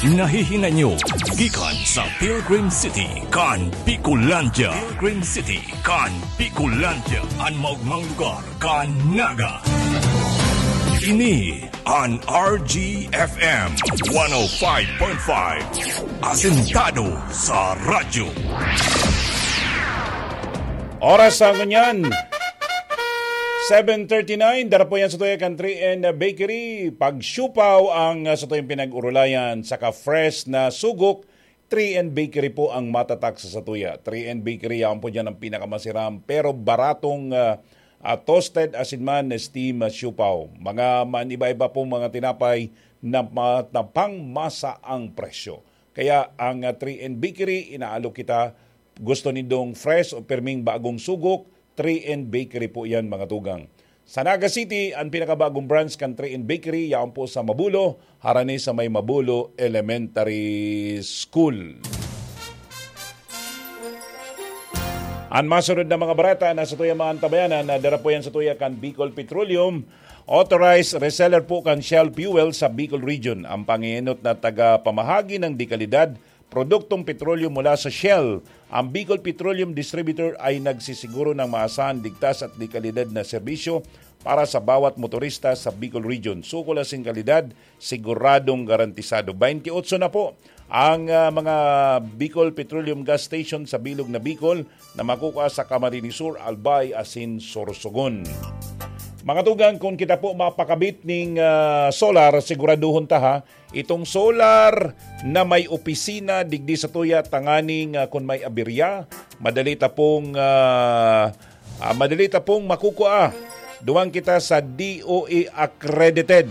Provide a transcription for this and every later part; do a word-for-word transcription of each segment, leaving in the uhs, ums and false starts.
Nahihinay nyo gikan sa Pilgrim City kan Bicolandia. Pilgrim City kan Bicolandia, an maogmang lugar kan Naga. Ini an R G F M one oh five point five, asentado sa radyo. Oras sa ngunyan, seven thirty-nine, dara po yan sa tuya kan three N Bakery. Pagsiupaw ang, ah, sa tuyang pinag-urulayan, saka fresh na sugok, three N Bakery po ang matatak sa satuya. Three N Bakery, yaon po dyan ang pinakamasiram, pero baratong, ah, ah, toasted asin man, steam, ah, siupaw. Mga man iba-iba pong mga tinapay na ma-, na pang masa ang presyo. Kaya ang, ah, three N Bakery, inaalok kita, gusto nindong fresh o pirming bagong sugok, three N Bakery po yan, mga tugang. Sa Naga City, ang pinakabagong branch kan three N Bakery, yaon po sa Mabulo, harani sa may Mabulo Elementary School. Ang masunod na mga bareta na sa tuya mga antabayanan, na dara po yan sa tuya kan Bicol Petroleum, authorized reseller po kan Shell Fuel sa Bicol Region. Ang pangiinot na taga-pamahagi ng dekalidad, produktong petrolyo mula sa Shell. Ang Bicol Petroleum Distributor ay nagsisiguro ng maasahan, ligtas at dekalidad na serbisyo para sa bawat motorista sa Bicol Region. Sukol asin kalidad, siguradong garantisado. Twenty-eight na po ang, ah, mga Bicol Petroleum Gas Station sa bilog na Bicol na makukuha sa Camarines Sur, Albay asin Sorsogon. Mga tugang, kung kita po mapakabit ning, ah, solar, siguraduhon ta ha, itong solar na may opisina digdi sa tuya tanganing, ah, kun may aberya, madali ta pong, ah, ah, madali ta pong makukua. Duwang kita sa D O A accredited.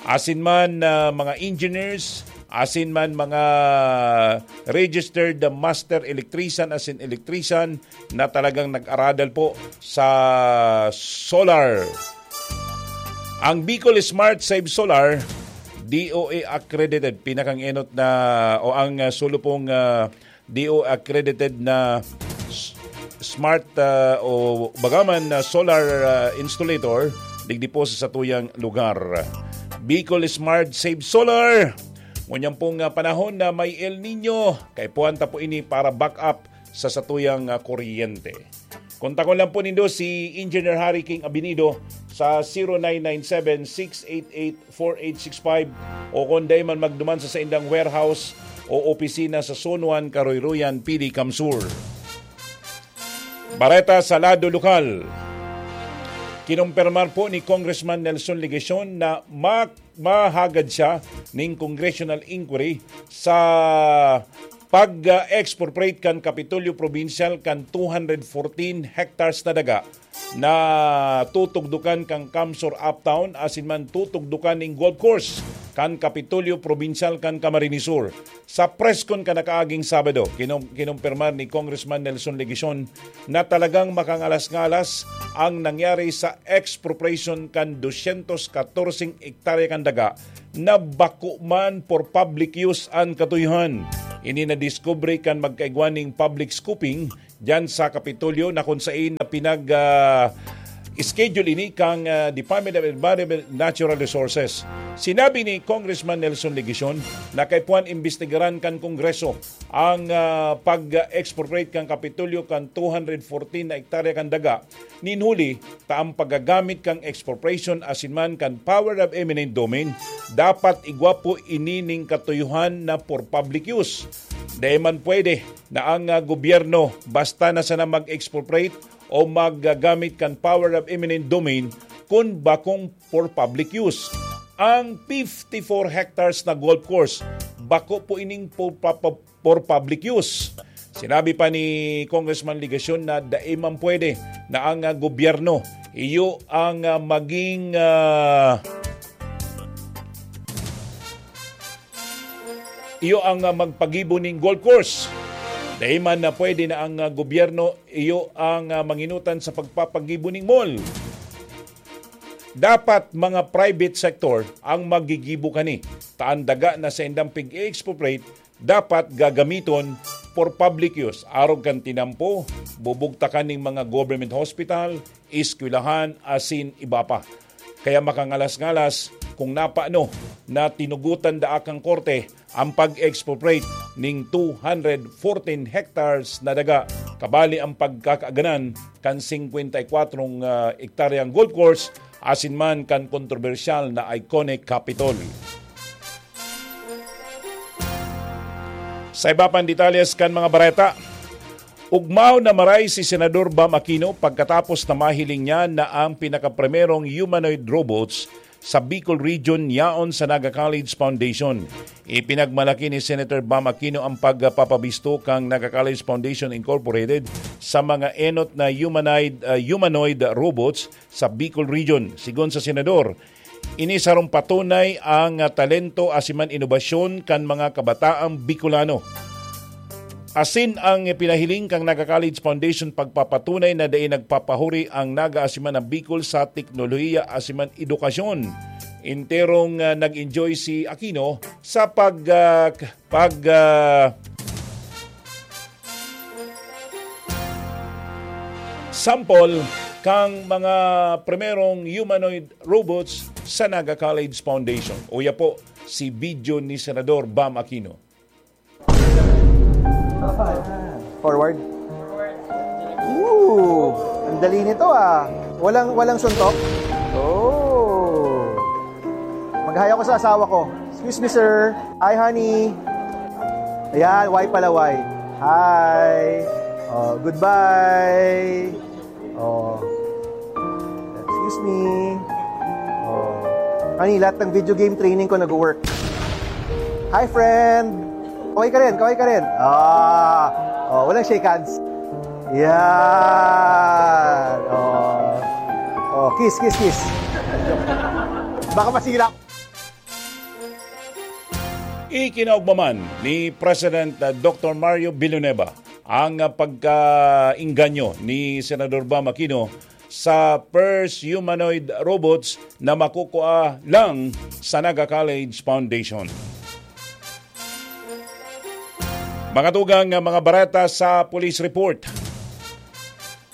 Asin man, ah, mga engineers, asin man mga registered master electrician, asin electrician na talagang nag-aradal po sa solar. Ang Bicol Smart Save Solar, D O A accredited, pinakang enot na o ang, ah, sulo pong, ah, D O A accredited na s-, smart, ah, o bagaman na solar, ah, installator digdi po sa satuyang lugar. Bicol Smart Save Solar. Ngunyan pong, ah, panahon na may El Nino, kaipuhan ta po ini para backup sa satuyang, ah, kuryente. Kontakon lang po nindo si Engineer Harry King Abinido sa zero nine nine seven, six eight eight, four eight six five, o kung dai man magduman sa saindang warehouse o opisina sa Zone one, Karoyroyan, P D, CamSur. Bareta sa lado lokal. Kinumpirmar po ni Congressman Nelson Legacion na ma-, mahagad siya ning congressional inquiry sa pag-expropriate kan Kapitolyo Provincial kan two hundred fourteen hectares na daga na tutugdukan kan CamSur Uptown asin man tutugdukan ning golf course kan Kapitolyo Provincial kan Camarines Sur. Sa press con kan nakaaging Sabado, kinum-, kinumpirmar ni Congressman Nelson Legacion na talagang makangalas-ngalas ang nangyari sa expropriation kan dosyentos katorseng hektarya kan daga na bako man for public use an katuyohan. Ini nadiskubre kan magkaigwa ning public scooping diyan sa Kapitolyo na kun sain na pinag, ah, schedule ini kan, ah, Department of Environment and Natural Resources. Sinabi ni Congressman Nelson Legacion na kaipuhan imbestigaran kan Kongreso ang, ah, pag-expropriate kan Kapitolyo kan two hundred fourteen na hektarya kan daga nin huli ta ang paggagamit kan expropriation asin man kan power of eminent domain, dapat igwa po ini ning katuyohan na for public use. Dai man pwede na ang, ah, gobyerno basta na sana mag-expropriate o maggagamit kan power of eminent domain kun bakong for public use. Ang fifty-four hectares na golf course, bako po ining po-, pa-, pa-, for public use. Sinabi pa ni Congressman Legacion na dai man pwede na ang, ah, gobyerno iyo ang, ah, maging, ah, iyo ang, ah, magpagibo ning golf course. Dai man na pwede na ang, ah, gobyerno iyo ang, ah, manginutan sa pagpapagibo ning mall. Dapat mga private sector ang magigibo kani. Ta an daga na saindang pig-expropriate, dapat gagamiton for public use, arog kan tinampo, bubugtakan ning mga government hospital, eskwelahan, asin iba pa. Kaya makangalas-ngalas kung napano na tinugotan daa kan korte ang pag-expropriate ning two hundred fourteen hectares na daga, kabali ang pagkakaaganan kan singkwenta y kwatro, ah, ektaryang golf course asin man kan kontrobersyal na iconic Capitol. Sa iba pang detalles kan mga bareta, ugmaw na maray si Senador Bam Aquino pagkatapos na mahiling niya na ang pinakaprimerong humanoid robots sa Bicol Region yaon sa Naga College Foundation. Ipinagmalaki ni Senator Bam Aquino ang pagpapabisto kan Naga College Foundation Incorporated sa mga enot na humanoid, ah, humanoid robots sa Bicol Region. Sigon sa Senador, ini sarong patunay ang, ah, talento asin man inobasyon kan mga kabataang Bicolano. Asin ang pinahiling kan Naga College Foundation pagpapatunay na dai nagpapahuri ang Naga asin man ang Bicol sa teknolohiya asin man edukasyon. Enterong, ah, nag-enjoy si Aquino sa pag, ah, k-, pag, ah, sample kang mga primerong humanoid robots sa Naga College Foundation. Uya po si video ni Senador Bam Aquino. Forward. Ooh, ang dali nito ah. Walang walang suntok. Oh. Mag-hi ako sa asawa ko. Excuse me, sir. Hi, honey. Ayan, why pala, why? Hi. Oh, goodbye. Oh. Excuse me. Oh. Honey, lahat ng video game training ko nag-work. Hi, friend. Kaway ka rin, kaway ka rin. Ah. Oh, walang shake hands. Yan. Oh. Oh, kiss, kiss, kiss. Baka masira. Ikinaugma man ni President, ah, Doctor Mario Villanueva ang, ah, pagkaengganyo ni Senador Bam Aquino sa first humanoid robots na makukua lang sa Naga College Foundation. Mga tugang, ah, mga bareta sa police report.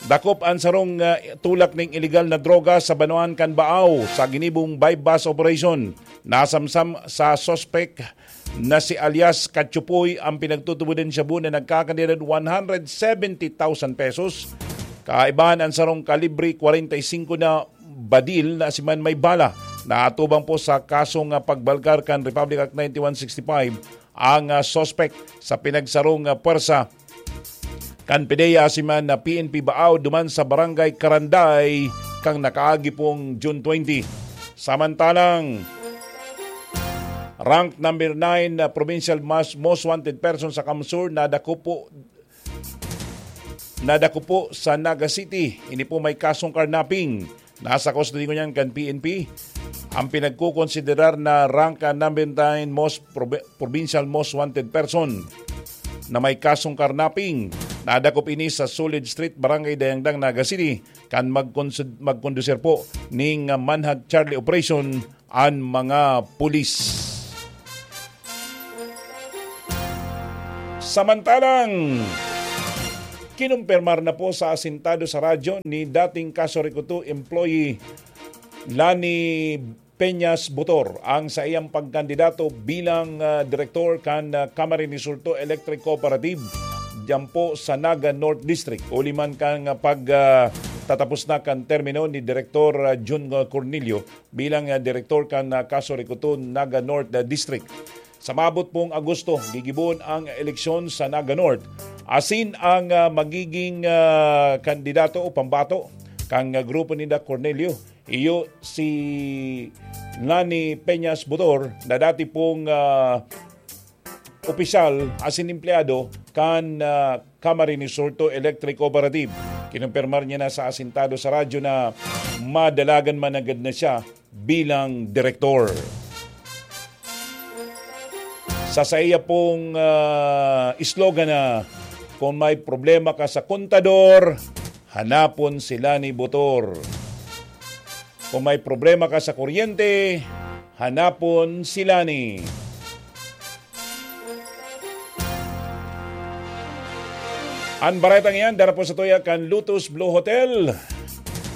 Dakop an sarong, ah, tulak ning iligal na droga sa banwaan kan Baao sa ginibong buy-bust operation. Nasamsam sa suspek na si alias Katsupoy ang pinagtutubodan shabu na nagkakantidad one hundred seventy thousand pesos. Kaibahan an sarong kalibre kwarenta y singko na badil na si man may bala. Naatubang po sa kasong, ah, pagbalkar kan Republic Act ninety-one sixty-five ang, ah, suspek sa pinagsarong, ah, pwersa kan PDEA asin man na P N P Baao duman sa Barangay Karanday kan nakaagi pong June twenty. Samantalang, rank number nine na provincial mas, most wanted person sa CamSur na dakop po, na dakop po sa Naga City. Ini po may kasong carnapping. Nasa kustodiya niyan kan P N P ang pinagkukonsiderar na rank number nine most probi-, provincial most wanted person na may kasong carnapping. Nadakop ini sa Solid Street, Barangay Dayangdang, Naga City, kan magkonsud-, magkondusir po ning manhunt charlie operation an mga pulis. Samantalang, kinumpirmar na po sa asintado sa radyo ni dating Kaso Recoto employee Lani Peñas Butor ang saiyang pagkandidato bilang, ah, direktor kan, ah, Camarines Sur Electric Cooperative diyan po sa Naga North District. Huli man kan, ah, pag, ah, tatapos na kan termino ni Direktor, ah, Jun Cornelio bilang, ah, direktor kan, ah, Kaso Recoton Naga North, ah, District. Sa maabot pong Agosto, gigibohon ang eleksyon sa Naga North. Asin ang, ah, magiging, ah, kandidato o pambato kan, ah, grupo ni Doc Cornelio. Iyo si Lani Peñas Butor na dati pong, ah, opisyal asin empleyado kan, ah, Camarines Sur Electric Cooperative. Kinumpirmar niya na sa asintado sa radyo na madalagan man agad na siya bilang direktor. Sa saiya pong, ah, slogan na, "Kung may problema ka sa kontador, hanapon si Lani Butor. Kung may problema ka sa kuryente, hanapon si Lani." An baretang iyan dara po sa tuya kan Lotus Blue Hotel,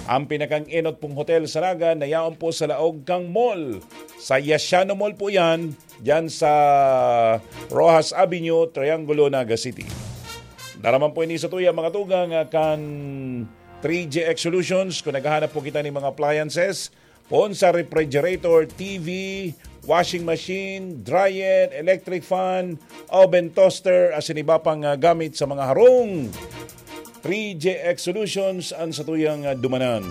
ang pinakang-enot pong hotel sa Naga na yaon po sa laog kang mall. Sa Yashano Mall po yan, dyan sa Roxas Avenue, Triangulo, Naga City. Daraman po ini sa tuya, mga tugang, ah, kan three G X Solutions. Kung naghahanap po kita ng mga appliances, poon sa refrigerator, T V, washing machine, dryer, electric fan, oven, toaster, asin iba pang, ah, gamit sa mga harong, three G X Solutions ang satuyang, ah, dumanan.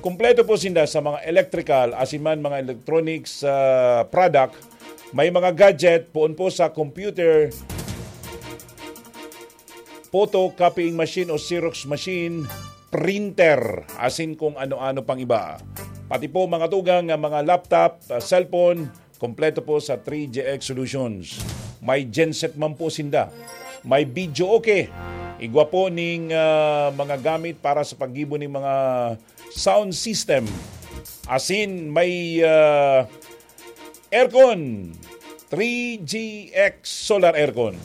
Kompleto po sinda sa mga electrical, asin man mga electronics, ah, product. May mga gadget, poon po sa computer, photocopying machine o Xerox machine, printer, asin kung ano-ano pang iba. Pati po mga tugang nga mga laptop, ah, cellphone, kompleto po sa three G X Solutions. May genset man po sinda. May video okay. Igwa po ning, ah, mga gamit para sa paggibo ning mga sound system. Asin may, ah, aircon. Three G X solar aircon.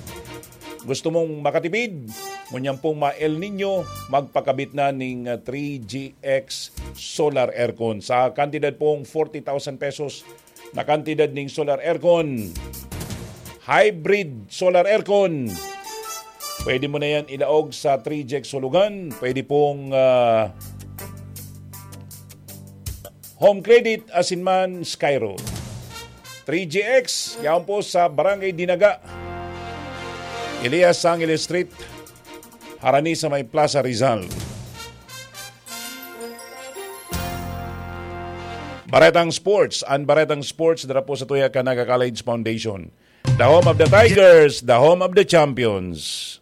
Gusto mong makatipid? Ngunyan pong ma-El Nino, magpakabit na ning, ah, three G X solar aircon. Sa kantidad pong forty thousand pesos na kantidad ning solar aircon, hybrid solar aircon, pwede mo na yan ilaog sa three G X Sulugan. Pwede pong, ah, Home Credit, asin man Skyro. Three G X, yaon po sa Barangay Dinaga, Elias Sangil Street, harani sa may Plaza Rizal. Baretang Sports, ang Baretang Sports, dara po sa tuya kan Naga College Foundation. The home of the Tigers, the home of the champions.